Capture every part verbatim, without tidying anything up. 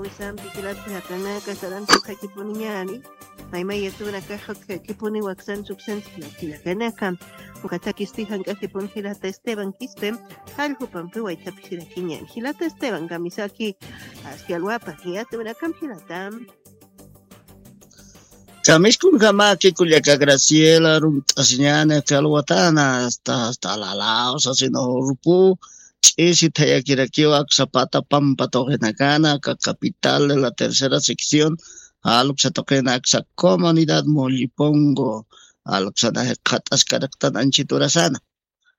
Wisampi jilata jaqinaka sarantuqakipuniñani. Maymay yatuwanakaxa utjakipuni waksan suksansi jilakanaka. Ukatakisti jank'akipuni jilata Esteban Quispe. Jallq'upampi waytapishirakiñani jilata Esteban kamisaki. Aski alwapan yatuwanakampi jilata. Kamiskunkamaki kullaka Graciela, runt'asiñani aka alwatana hasta hasta Alalao sasina urpu ch'isi thayakirakiwa aka Zapata pampa tuqinakana aka capital de la tercera sección, aluksa tuqina aka comunidad Mollipongo, aluksana jikxataskaraqtan anchit urasana.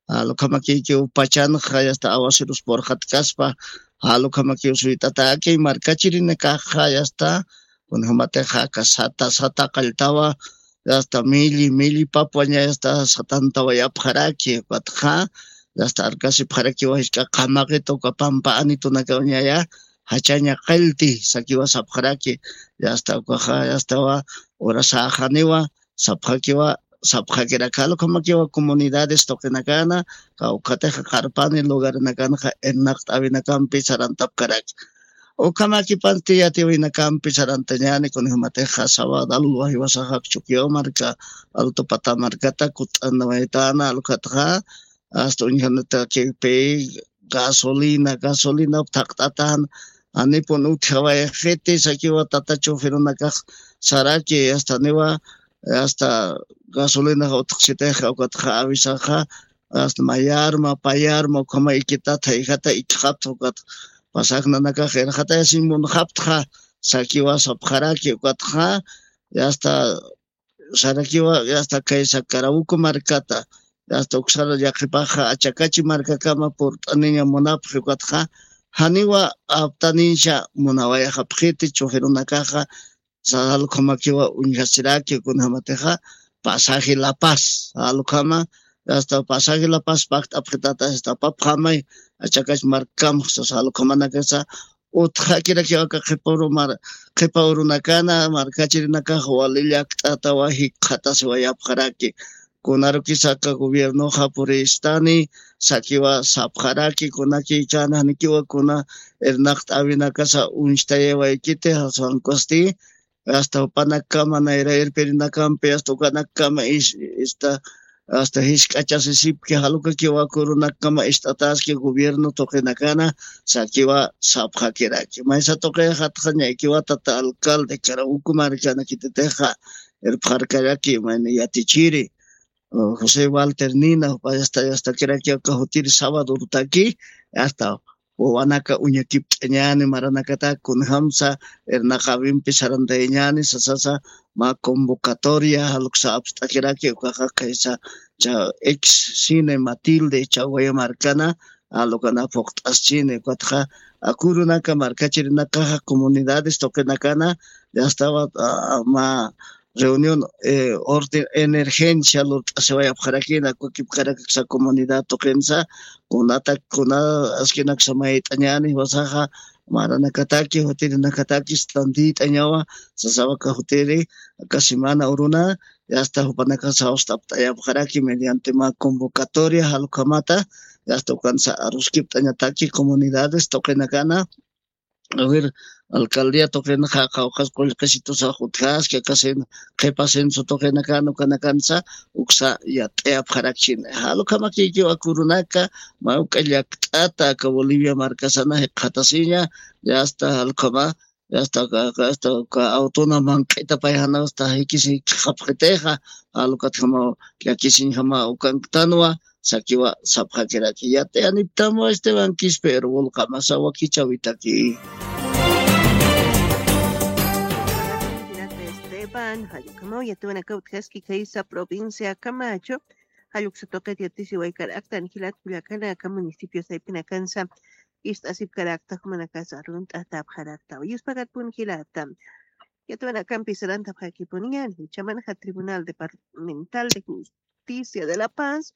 Alukhamakikiw pachanxa yasta awasirus purxatkaspa, alukhamakiw suyt'ataki markachirinakaxa yasta, kunjamatixa aka sata sata qalltawa yasta milli milli papwaña yasta satantawayapxaraki ukatxa, yasta arkasipxarakiwa jisk'a qamaqita uka pampa anitunakawañaya jachaña qallti sakiwa sapxaraki. Yasta ukaxa yastawa urasaxaniwa sapxakiwa sapxakirakalu ukhamakiwa comunidades tuqinakana, kawkhatix qarpani lugarinakanxa irnaqt'awinakampi sarantapkaraki. Ukhamakipansti yatiwinakampi sarantañani kunjamatixa sabadalwa jiwasaxak chukiwa marka alto pata markata kut'anawaytana alukhatxa, asta uñjanatakipi gasolina gasolinap thaqt'atan anipun utjawayxiti sakiwa tata choferunakax saraki astaniwa asta gasolinaxa utjxsitix ukatxa avisaxa asta mayarma payarma ukhama ikitat jayjata ikxapta ukat pasajnanakax irxatayasiñ munxaptxa sakiwa sapxaraki ukatxa asta sarakiwa asta kaysa Carabuco markata asta uksara llaqipaxa achakachi markakama purt'aniña munapxi ukatxa janiwa aptaniñsa munawayxapxiti choferunakaxa. Salukhamakiwa uñjasiraki kunjamatixa pasaje La Paz salukhama asta pasaje La Paz pajt'apxitata asta papxamay achakachi markam sasa salukhamanakasa utxakirakiwaka qhipa urunakana markachirinakax wali llakt'atawa jikxatasiwayapxaraki. Kunarukisaka gobiernoxa puristani sakiwa sapxaraki kunakikana janikiwa kuna irnaqt'awinakasa uñchtayawaykiti jasankusti asta jupanakama nayra irpirinakampi asta ukanakama ista asta jisk'achasisipki jalukakiwakurunakama ist'ataski gobierno tuqinakana sakiwa sapxakiraki maysa tuqixatxañaykiwa tata alcalde karabuku markanakititixa irpxarkaraki mayna yatichiri josé walter nina jupa asta astakiraki aka jutiri sabadorutaki asta wawanaka uñakipt'añani maranakataki kunjamsa irnaqawimpi sarantayañani sasasa mä convocatoria jaluksa apst'akiraki ukaxa kaysa cha ex cine matilde chawaya markana alukana phuqt'aschini ukatxa akurunaka markachirinakaxa comunidades tuqinakana yastawa mä reunión orden emergencia lurt'asiwayapxarakina kukipkarakaksa comunidad tuqinsa kunata kuna askinaksa mayt'añani wasaxa maranakataki jutirinakataki standiyt'añawa sasawaka jutiri aka semana uruna yasta jupanakasa awst'apt'ayapxaraki mediante mä convocatoria jalukhamata yasta ukansa aruskipt'añataki comunidades tuqinakana a ver alcaldía tuqinaxa qawqhas qullqisitusax utjaski aka qhipa censo tuqinakan ukanakansa uksa yat'ayapxarakchini jalukhamakiykiw akurunaka mä uk'a llakt'ata aka bolivia markasana jikxatasiña yasta jalkhama yasta aka autona manq'ita payjana asta jikisi jikxapxitixa jalukatjama llakisiñjama ukanktanwa sakiwa sapxakiraki yat'ayaniptamwa esteban quispe irwulqamasa wakichawitaki. Esteban jallukamaw yatuwanakaw utjaski khaysa provincia camacho jalluksa tuqit yatisiwaykaraktan jilat kullakanaka municipio saypinakansa ist'asipkarakta jumanakasa runt'atapxaraktaw yuspakarpun jilata. Yatuwanakampi sarantapxakipuniñan jichhamanxa tribunal departamental de justicia de la paz